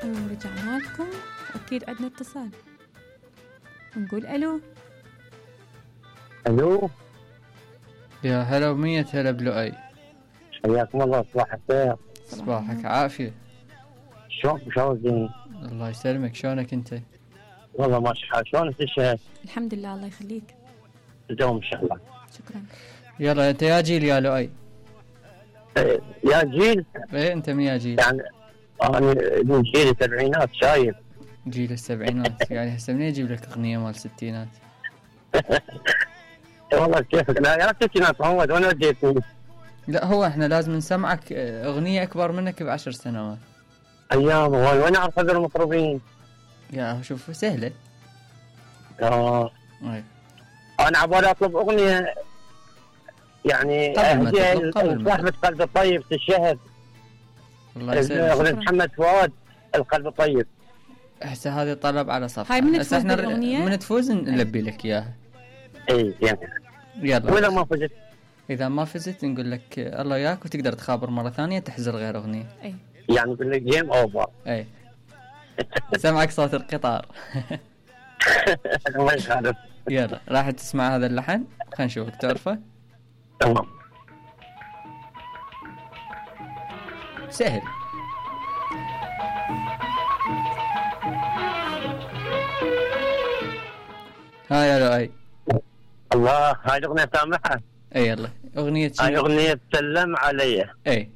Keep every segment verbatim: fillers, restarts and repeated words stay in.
ورجعنا لكم. أكيد عندنا اتصال، نقول ألو. الو، يا هلا ومية هلا بلؤي. حياكم الله، صباح الخير. صباحك عافية. شلون شلونك؟ الله يسلمك، شلونك انت؟ والله ماشي حال. شلونك الشهر؟ الحمد لله، الله يخليك. تدوم ان شاء الله. شكرا. يلا انت يا جيل يا لؤي؟ إيه، يا جيل. ايه انت من يا جيل؟ يعني انا من جيل السبعينات، شايف. جيل السبعينات يعني هسه منين اجيب لك اغنية مال الستينات؟ والله كيفك؟ لا يا الستينات محمد، وين وديتني؟ لا هو احنا لازم نسمعك اغنية اكبر منك بعشر سنوات. ايام وين وين اعرف هذول المطربين؟ يا شوف سهلة. اه ايه انا عبالي اطلب اغنية يعني قبل ما اهديها تطلب، قبل ما لصاحبة قلب الطيب تشهد. الله يسلمك. اغنية محمد فؤاد القلب الطيب. هسه هذه طلب على صفحة. هاي من هسه تفوز احنا بالأغنية؟ من تفوز نلبي لك اياها. اي يعني يلا. واذا ما فزت؟ اذا ما فزت نقول لك الله ياك، وتقدر تخابر مرة ثانية تحزر غير اغنية. اي يعني نقول لك جيم اوفر. اي سمعك صوت القطار. ما يخالف. يلا راح تسمع هذا اللحن، خلينا نشوفك تعرفه. تمام. سهل. ها يا لؤي. الله، هاي الاغنية سامعها؟ اي يلا اغنية شنو؟ هاي اغنية سلم علي. اي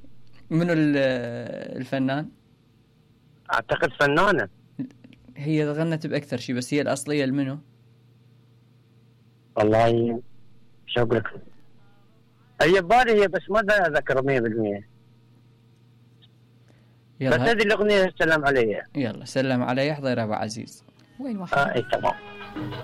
منو الفنان؟ اعتقد فنانة. هي غنت باكثر شيء بس هي الاصلية المنو؟ والله شو اقول لك، هي ببالي هي بس ما اتذكر مية بالمية. بس يلا هذه الاغنية سلم علي. يلا سلم علي حضير ابو عزيز. وين واحد؟ اه اي تمام.